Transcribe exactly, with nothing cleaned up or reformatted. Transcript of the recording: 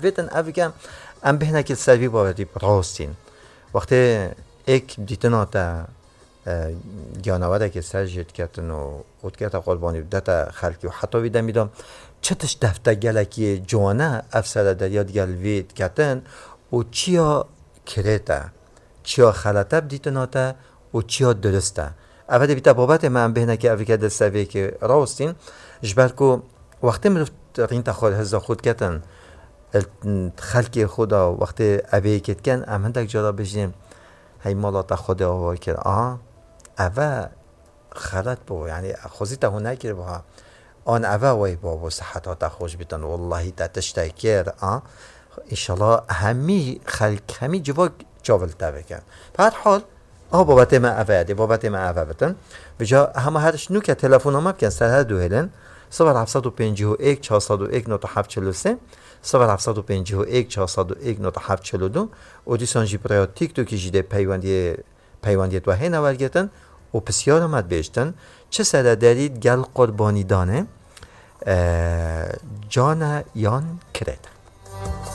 Vêtin ev ke em bêhnekî li ser vî bawerî rastîn. Wextê êk dîtina te, e, giyanewerekê ser jê diketin û, û dikete qurbanî û dete xelkî û heta vî demî de çi tişt defte gelekî ciwane ev serederiya digel vî diketin û çiya kirêt e, çiya xelet e bi dîtina te û çiya dirist e. Ev dê bîte babetê me em bêhnekî ev ke di ser vê ke rawestîn, ji ber ku wextê mirov rînta xwe hizda xwe diketin, xelkê xwe da wextê evê yekê dikin, em hindek cara bijîn, hey mala te Xwedê ava kir. A, eve xelet bû, yanî xwezî te hûn nekiribû ha. An eve wey bû, bû siheta te xweş bitin. Wallahî te tiştek kir, a. Înşallah hemî xelk, hemî civak çav li te bikin. Bi her hal, a babetê me eve ye, dê babetê me eve bitin. Vêca hema her ji nû ke telefona me bikin ser her du hêlin, sifir heft sed û pêncî û êk, çar sed û êk, nod heft çil û sê, sifir heft sed û pêncî û êk, çar sed û êk, nod heft çil û du û dîsan jî bi rêya TikTokî jî dê peywendiyê, peywendiyê we hêne wergirtin û pisyara me dibêjtin, çi serederî gel qurbanî danê, e, can e yan kirêt e?